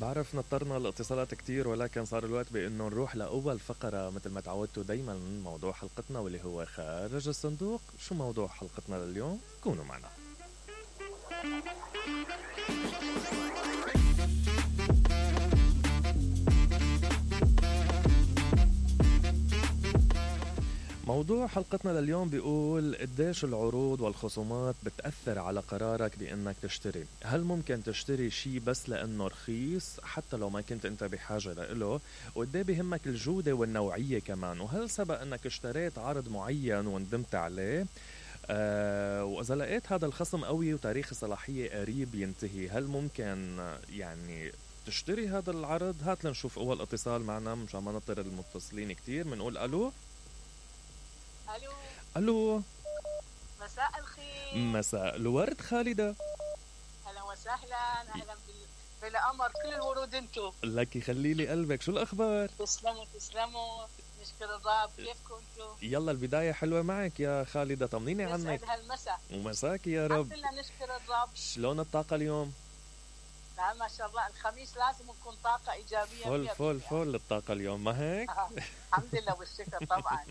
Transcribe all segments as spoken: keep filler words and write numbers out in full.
بعرف نطرنا الاتصالات كتير، ولكن صار الوقت بأنه نروح لأول فقرة مثل ما تعودتوا دايما من موضوع حلقتنا واللي هو خارج الصندوق. شو موضوع حلقتنا لليوم؟ كونوا معنا. موضوع حلقتنا لليوم بيقول قديش العروض والخصومات بتأثر على قرارك بأنك تشتري. هل ممكن تشتري شي بس لأنه رخيص حتى لو ما كنت انت بحاجة لإله؟ وقديه بهمك الجودة والنوعية كمان؟ وهل سبق انك اشتريت عرض معين وندمت عليه؟ آه وإذا لقيت هذا الخصم قوي وتاريخ الصلاحية قريب ينتهي، هل ممكن يعني تشتري هذا العرض؟ هات لنشوف أول اتصال معنا مشان ما نطر المتصلين كتير. منقول ألو. الو الو، مساء الخير. مساء الورد خالدة. اهلا وسهلا، اهلا بال... بالقمر، كل الورود انتو. لك يخلي لي قلبك. شو الاخبار؟ تسلموا تسلموا، نشكر الرب. كيفكم انتو؟ يلا البداية حلوة معك يا خالدة، طمنيني عنك. يسعد هالمساء. ومساك يا رب. الحمد لله نشكر الرب. شلون الطاقة اليوم؟ لا ما شاء الله، الخميس لازم نكون طاقة إيجابية. فل فل فل الطاقة اليوم، ما هيك؟ الحمد لله والشكر طبعا.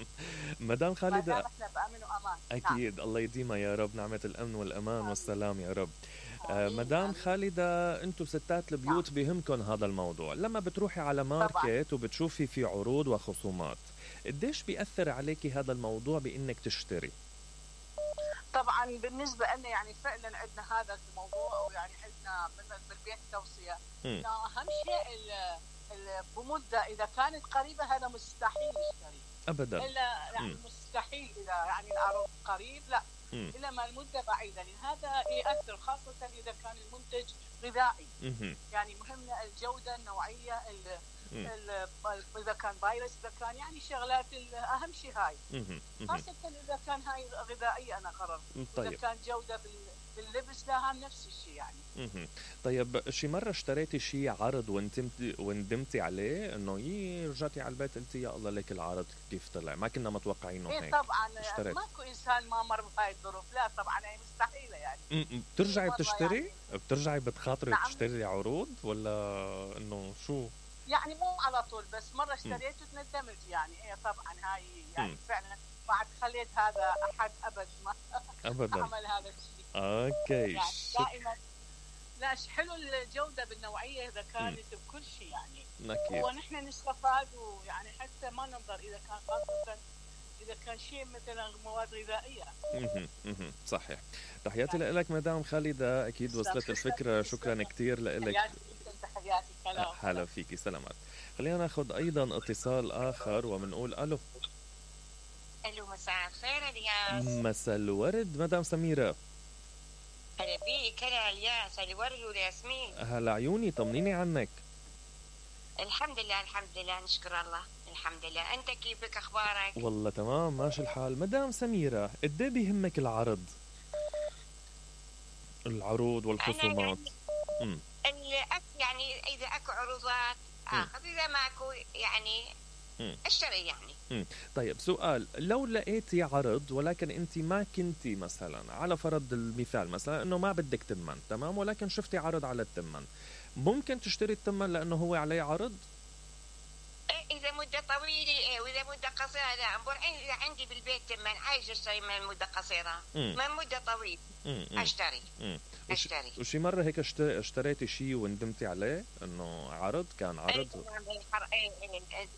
مدام خالدة، احنا بأمن وأمان. أكيد. نعم. الله يديمها يا رب، نعمة الأمن والأمان آمين. والسلام يا رب. آه مدام آمين. خالدة، أنتم ستات البيوت نعم. بهمكن هذا الموضوع. لما بتروحي على ماركت طبعا. وبتشوفي في عروض وخصومات، قديش بيأثر عليكي هذا الموضوع بإنك تشتري؟ طبعا بالنسبة لنا يعني فعلا عندنا هذا الموضوع، ويعني عندنا بالبيت توصية انه اهم شيء بمدة اذا كانت قريبة هذا مستحيل يشتري ابدا. الا يعني مستحيل اذا يعني العرض قريب، لا مم. الا ما المدة بعيدة، لان هذا يأثر خاصة اذا كان المنتج غذائي. مم. يعني مهمة الجودة، النوعية، إذا كان فيروس، إذا كان يعني شغلات أهم شيء هاي، خاصة إذا كان هاي غذائية. أنا قررت طيب. إذا كان جودة باللبس لها نفس الشيء يعني. طيب شي مرة اشتريتي شي عرض وندمتي وندمتي عليه إنه يي رجعتي على البيت قلتي يا الله ليك العرض كيف طلع، ما كنا متوقعينه هيك؟ إيه طبعا اشتريت. ماكو إنسان ما مر بهاي الظروف، لا طبعا هي مستحيلة يعني. بترجعي بتشتري؟ يعني. بترجعي بتخاطري نعم. تشتري عروض ولا إنه شو؟ يعني مو على طول، بس مرة اشتريت وتندمت يعني. ايه طبعا هاي يعني م. فعلا بعد خليت هذا أحد أبد ما أبدا عمل هذا الشيء. أوكي. يعني دائما لا حلو الجودة بالنوعية إذا كانت م. بكل شيء يعني. أكيد. ونحن نستفاد، ويعني حتى ما ننظر إذا كان خاصة إذا كان شيء مثلا مواد غذائية. اها اها صحيح. تحياتي يعني. لك مدام خالدة، أكيد وصلت الفكرة. شكرا كتير لك. تحياتي. هلا فيكي، سلامات. خلينا ناخذ ايضا اتصال اخر وبنقول الو. الو مساء الخير الياس. مساء الورد مدام سميرة. هلا بيك. هلا الياس، الورد والياسمين. هلا عيوني، طمنيني عنك. الحمد لله الحمد لله نشكر الله الحمد لله. انت كيفك، اخبارك؟ والله تمام ماشي الحال. مدام سميرة، قد ايه بيهمك العرض العروض والخصومات؟ امم يعني اذا اكو عروضات اخذ، اذا ماكو يعني مم. اشتري يعني. مم. طيب سؤال، لو لقيتي عرض ولكن انت ما كنتي مثلا، على فرض المثال مثلا انه ما بدك تمن، تمام، ولكن شفتي عرض على التمن، ممكن تشتري التمن لانه هو عليه عرض؟ اذا مده طويله واذا مده قصيره لا. اذا عندي بالبيت تمن عايز اشتري من مده قصيره، من مده طويله اشتري. مم. اشتري. وشي مرة هيك اشتريتي شيء وندمتي عليه انه عرض كان عرض؟ اي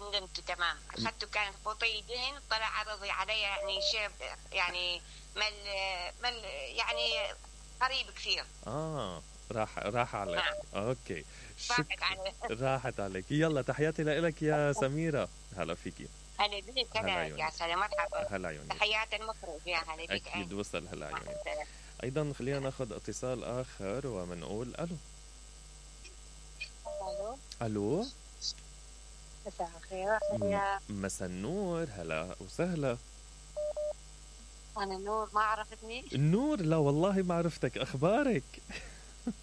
ندمت تمام. اخذته كان بطيء دهن، طلع عرضي علي يعني شيء يعني مل مل يعني قريب كثير. اه راح راح عليك. نعم. اوكي راحت عليك. راحت عليك. يلا تحياتي لك يا سميرة. هلا فيكي. هلا بيك. هلا يا سلام، مرحبا. هلا عيوني. تحيات المخرج يا هلا بيك. اكيد وصل. هلا عيوني. ايضا خلينا ناخذ اتصال اخر وبنقول الو. الو. الو مساء الخير. مساء النور. هلا وسهلا. انا نور، ما عرفتني؟ النور؟ لا والله ما عرفتك. اخبارك؟